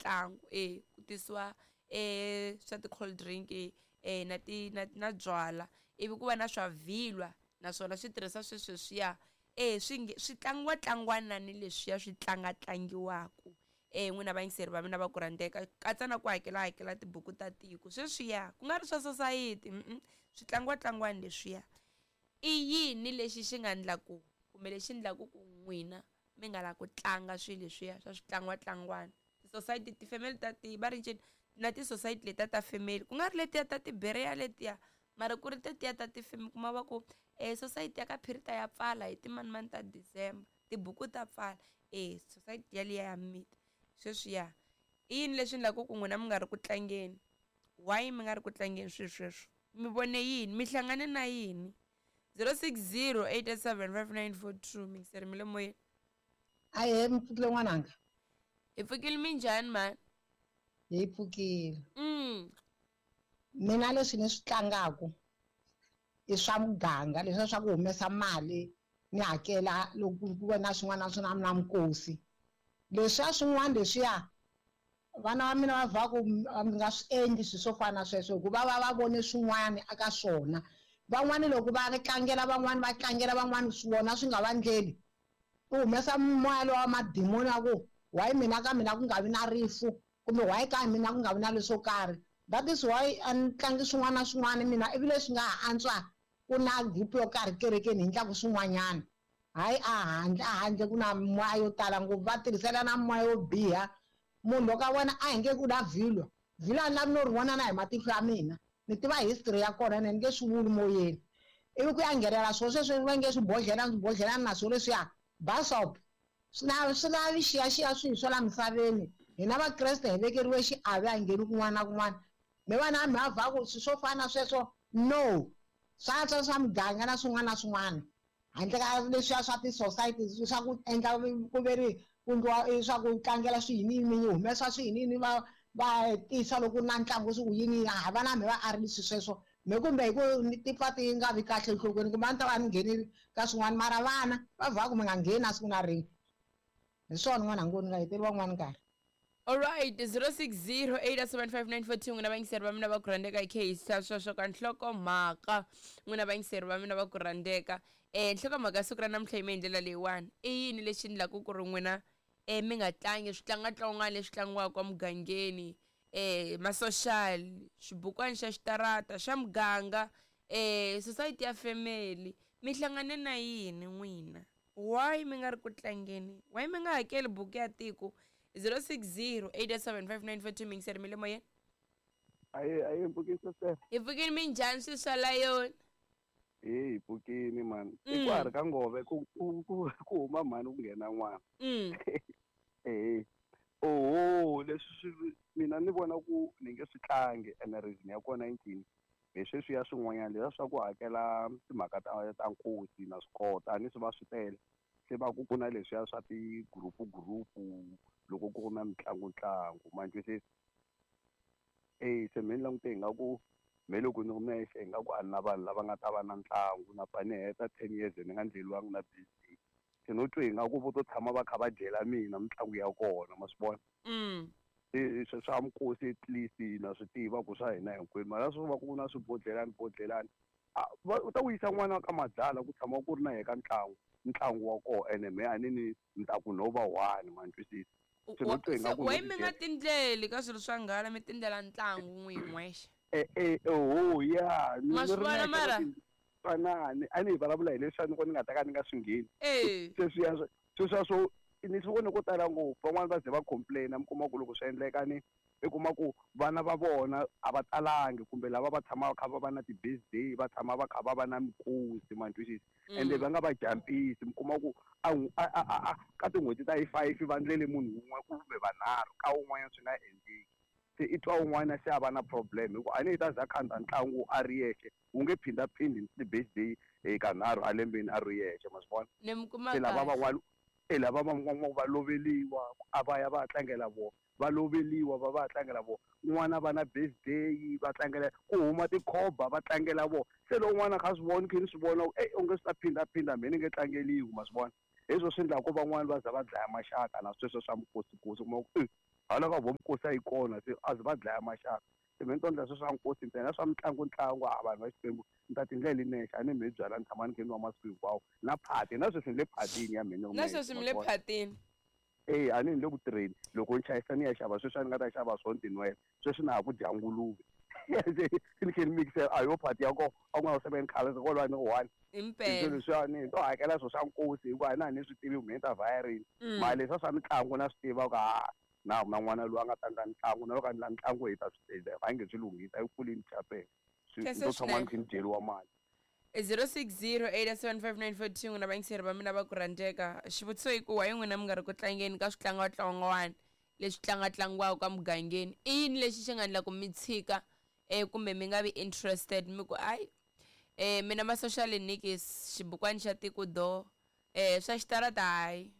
mitlangu e ku tisiwa swa ti-cold drink na ti na byala ivi ku va na swa vhilwa naswona swi tirhisa swesweswiya swi tlangiwa tlangiwa ni leswiya swi tlanga tlangiwaku n'wina vayingiseri va mina va ku rhandzeka katsa na ku hakela hakela tibuku ta tiko sweswiya ku nga ri swa sosayiti swi tlangiwa tlangiwani leswiya. I yini lexi xi nga ndlaku kumbe lexi ndlaku ku n'wina mi nga la ku tlanga swilo leswiya swa switlangiwa tlangiwani ti-society ti-family ta ti va ri ncini na ti-society letiya ta family ku nga ri letiya ta tibereya letiya mara ku ri tetiya ta ti-family kuma va ku society ya ka Phirita ya pfala hi timanimani ta December tibuku ta pfala society yaliya ya miti sweswiya. I yini leswi ndlaku ku n'wina mi nga ri ku tlangeni? Why mi nga ri ku tlangeni swilo sweswo? Mi vone yini? Mi hlangane na yini? 060 887 5942 mingiseri mi le moyeni. Ahe, mi pfukile n'wananga. Hi pfukile minjhani mhani? Hi pfukile. Mina leswi ni swi tlangaku i swa muganga leswiya swa ku humesa mali ni hakela loko ku ve na swin'wana na swin'wana na mikosi. Leswiya swin'wana leswiya vana va mina va va ku mi nga swi endli swilo swo fana na sweswo hikuva va va vone swin'wana eka swona. Van'wani loko va tlangela van'wani va tlangela van'wani vona swi nga va ndleli. U humesa moya lowa wa madimoni ya ku why mina ka mina ku nga vi na rifu kumbe why ka mina ku nga vi na leswo karhi. That is why a ni tlangi swin'wana na swin'wana mina ivi leswi nga ha antswa ku na group yo karhi kerekeni hi ndlaku swin'wanyana. Hayi a handle ku na moya yo tala ngopfu va tirhisela na moya yo biha. Munhu loko a vona a hi nge ku na vhilwa vhilwa a ni lavi no ri vona na hi matihlo ya mina ni tiva history ya kona ni nge swi vuli moyeni. Ivi ku ya nghenela swona sweswo va nge swibodhlelani na swona leswiya basop swi lavi xiyaxiya swilo swa la misaveni. Hina vakreste hi vekeriwe xiave a ngheni kun'wana na kun'wana. Mi vana mi va ku swilo swo fana na sweswo no swa swa swa muganga na swin'wana na swin'wana handle ka leswiya swa ti-society swa ku endla ku ve ri ku endliwa swa ku tlangela swiyiniyini humesa swiyiniyini va va tisa loko na ntlangu swi ku yini ha vana mi va arili swilo sweswo me kumbe hi ku ni tipfa ti nga vi kahle enhlokweni kumbe a ni ta va ni nghenile ka swin'wana mara vana va vha ku mi nga ngheni na siku na rin'we. Hi swona n'wana ngo ni nga heteli van'wana nkarhi. Alright, 060 875 n'wina vayingiseri va mina va ku rhandzeka hi khehisa sweswo ka nhlokomhaka. N'wina vayingiseri va mina va ku rhandzeka. Nhlokomhaka siku ra namuntlha yime hi ndlela leyiwani. I yini lexi ndlaku ku ri n'wina mi nga tlangi switlangatlangwana leswi tlangiwaka emugangeni, ma-social, xibukwana xa xitarata xa muganga, society ya family, mi hlangane na yini n'wina? Why mi nga ri ku tlangeni? Why mi nga hakeli buku ya tiko? 060 875 mingiseri mi le moyeni. Aye mpfukisa sir. Hi pfukini minjhani swilo swa layoni? Hi pfukini man. I ku ha ri ka ngove ku huma mhani ku nghena n'wana. Oho leswi swi mina ni vona ku ni nge swi tlangi ene reason ya kona i ncini. Hi sweswiya swin'wanyana leswiya swa ku hakela timhaka ta nkosi na swi kota a ni swi va swi tele. Se va ku ku na leswiya swa ti-group group loko ku ri na mitlangu ntlangu ma twisisa. Se me ni langute ingaku me loko ni ri nexe ingaku a ni na vanhu lava nga ta va na ntlangu na pfa ni heta 10 years ni nga ndleliwangi na birthday. Se no twa ingaku vo to tshama va kha va dyela mina mitlangu ya kona ma swi vona. Swa mikosi at least na swi tiva ku swa hina hinkwenu mara swo va ku na swibodhlelani bodhlelani u ta wisa n'wana ka madzala ku tshama ku ri na yena ka ntlangu wa kona ene me a ni ni ni ta ku no va one ma twisisa. Why mi nga tindleli ka swilo swa nghala mi tindlela ntlangu n'wi n'wexe? Oho ya ma swi vona mara twanani a ni hi vulavula hi leswi a ni ko ni nga ta ka ni nga swi ngheni. Sweswiya swo ni swi vone ko tala ngopfu van'wani va ze va complain-a mi kuma ku loko swi endleka ni i kuma ku vana va vona a va talangi kumbe lava va tshama va kha va va na ti-birthday va tshama va kha va va na mikosi ma twisisa. Ende va nga va jampisi mi kuma ku a ka tin'hweti ta hi 5 va ndlele munhu wun'we kumbe vanharhu ka wun'wanyana swi nga endleki. Se i twa wun'wana se a va na problem hikuva a ni yi ta za khandza ntlangu a ri yexe wu nge phindhaphindi ti-birthday kanharhu a lembeni a ri yexe ma swi vona. Se lava van'wana lava van'wana va loveliwa a va ya va tlangela vona va loveliwa va va tlangela vona n'wana va na birthday va tlangela ku huma tikhoba va tlangela vona. Se loko n'wana kha swi vona khe ni swi vona u nge swi ta phindaphinda me ni nge tlangeliwi ma swi vona. Hi swo swi endlaku van'wana va za va dlaya maxaka na sweswo swa mikosikosi kuma ku Hala ka vo nkosi a yi kona se a ze va dlaya maxaka. Se me ni to endla sweswo swa nkosi ntsena swa mitlangu ntlangu a vanhu va Xikwembu ni ta tindlela nexe a ni mi byala ni tshama ni khe ni nwa masiku hinkwawo na phati na sweswi ni le phatini ya mina na sweswi mi le phatini. E a ni ni le ku tirheni loko ni chayisa ni ya xava sweswi a ni nga ta xava swona tinwela sweswi na ha ku dya nguluve ni khe ni mikisela a yo phati ya kona a ku nga seven khale se kwalaho ni one impela leswiwani ni to hakela swo swa nkosi hikuva a na ha ni swi tivi ku ni ta vhaya rini mali leswiya swa mitlangu na swi tiva ku ha na na n'wana loyi a nga ta endla mitlangu na loko a endla mitlangu hi ta swi a nge swi lunghisa yi kulini chapela ni to tshama ni khe ni dyeriwa mali. 06087594 n'wina vayingiseri va mina va ku rhandzeka. Xivutiso i ku why n'wina mi nga ri ku tlangeni ka switlangatlangwana leswi tlangatlangiwaka ka mugangeni? I yini lexi xi nga endla ku mi tshika kumbe mi nga vi interested mi ku ayi mina ma social nikis xibukwani xa tiko do swa xitarata hayi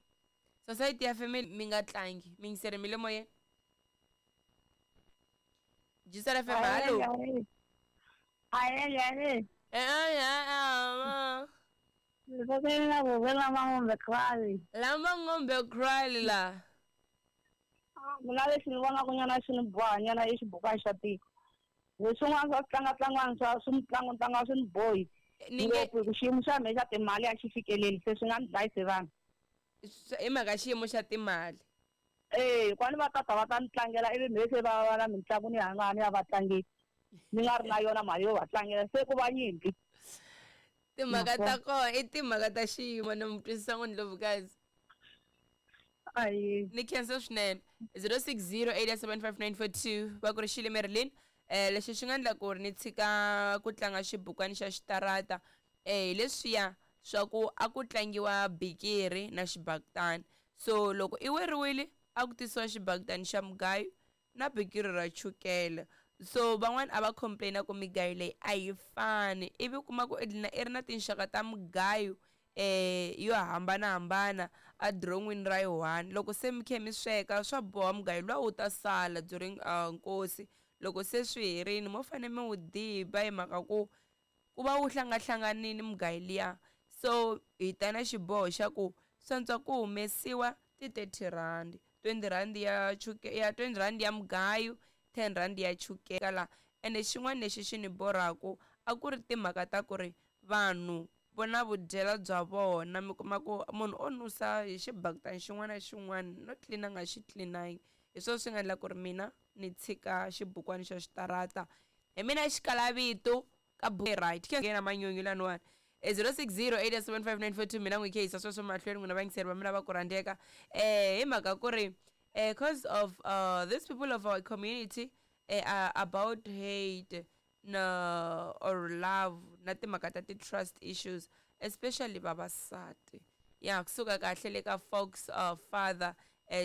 society ya family mi nga tlangi mi yingiseri mi le moyeni. Jisela FM, hallo. Lama ngombe cry la. Mina lexi ni vonaka nyana xi ni boha nyana i xibukwana xa tiko. Leswin'wana swa switlangatlangwana swa swi mitlangu swi ni bohi. Ngopfu hi ku xiyimo xa mina xa timali a xi fikeleli se swi nga ni dlayisi vanhu. I mhaka xiyimo xa timali. Eh, kwani va tata va ta ni tlangela ivi mhe se va va na mitlangu ni hanga ni ya va tlangeli. Ni nga ri na yona mali yo va tlangela se ku va nyimpi. Timhaka ta kona i timhaka ta xiyimo ni mi twisisa ngo Ndlovukazi. Ayi. Ni khensa swinene 06087594 va ku ri xile Marilyn. Lexi xi nga endla ku ri ni tshika ku tlanga xibukwani xa xitarata hi leswiya swa ku a ku tlangiwa bikiri na xibakitani. So loko i weriwile a ku tisiwa xibakitani xa mugayo na bikiri ra chukele. So van'wani a va complaina ku migayo leyi a yi fani ivi kuma ku i dlina i ri na tinxaka ta mugayo yo hambanahambana a diron'wini ra yi one. Loko se mi khe mi sweka swa boha mugayo luwa wu ta sala during nkosi. Loko se swi herini mo fane mi wu diba hi mhaka ku ku va wu hlangahlanganini mugayo liya. So hi ta na xiboho xa ku swantswa ku humesiwa ti 30 rand, 20 rand ya chuke ya 20 rand ya mugayo, 10 rand ya chukela la. Ene xin'wana lexi xi ni borhaku a ku ri timhaka ta ku ri vanhu vona vudyela bya vona mi kuma ku munhu o nusa hi xibakitani xin'wana na xin'wana no tlina nga xi tlinangi. Hi swona swi nga endla ku ri mina ni tshika xibukwani xa xitarata. Hi mina xikalavito ka right ke na manyunyu laniwani. 06087594 mina n'wi khehisa sweswo mahlweni n'wina vayingiseri va mina va ku rhandzeka. Hi mhaka ku ri cause of these people of our community are about hate na or love na timhaka ta ti-trust issues especially vavasati. Ya kusuka kahle le ka Fox father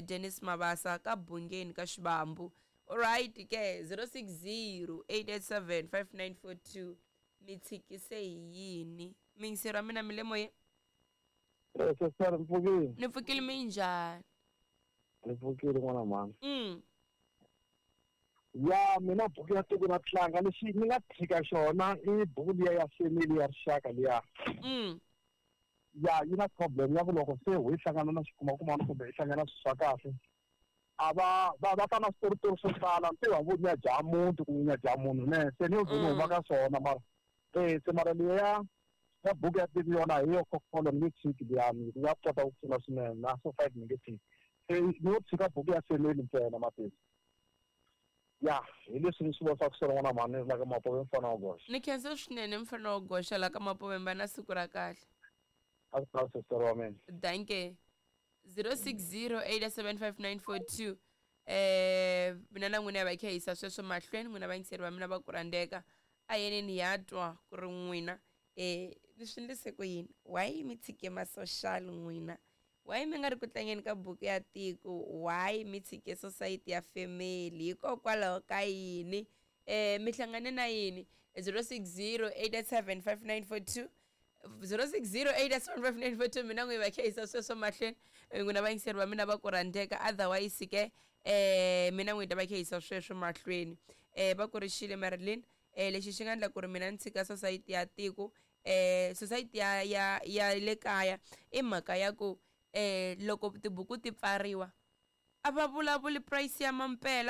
Dennis Mabasa ka Bungeni ka Xibambu. Alright ke 0608875942 mi tshikise hi yini? Miyingiseri wa mina mi le moyeni? Sister ni pfukile. Ni pfukile minjhani? Ni pfukile n'wana mhani. Ya mina buku ya tiko na tlanga lexi ni nga tshika xona i buku liya ya family ya rixaka liya. Ya yi na problem ya ku loko se hi hlangana na xikumakumana kumbe hi hlangana swilo swa kahle a va va va ta na switoritori swo tala ntirho wa nya dya muti ku nya dya munhu ne se ni yo ni huma ka swona mara se mara liya ya buku ya tiko yona hi yo kholo ni nge tshiki liyani ya kota ku pfuna swinene na so five ni nge tshiki se ni yo tshika buku ya family ntsena mapesi. Ya hi leswi ni swi vonisaka swona n'wana mhani la ka Mapove mfana wa goxa. Ni khensa swinene mfana wa goxa la ka Mapove mba na siku ra kahle. A ku ta sister wa mina. Danke. 06087594 mina na n'wina va khehisa sweswo mahlweni n'wina vayingiseri va mina va ku rhandzeka. A yeneni ya twa ku ri n'wina ni swi endlise ku yini? Why mi tshike ma social n'wina? Why mi nga ri ku tlangeni ka buku ya tiko? Why mi tshike society ya family? Hikokwalaho ka yini? Mi hlangane na yini? 0608875942 0608875942 mina n'wi va khehisa sweswo mahlweni n'wina vayingiseri va mina va ku rhandzeka. Otherwise ke mina n'wi ta va khehisa sweswo mahlweni. Va ku ri xile Marilyn. Lexi xi nga endla ku ri mina ni tshika society ya tiko society ya ya ya le kaya i mhaka ya ku loko tibuku ti pfariwa A va vulavuli price ya mampela.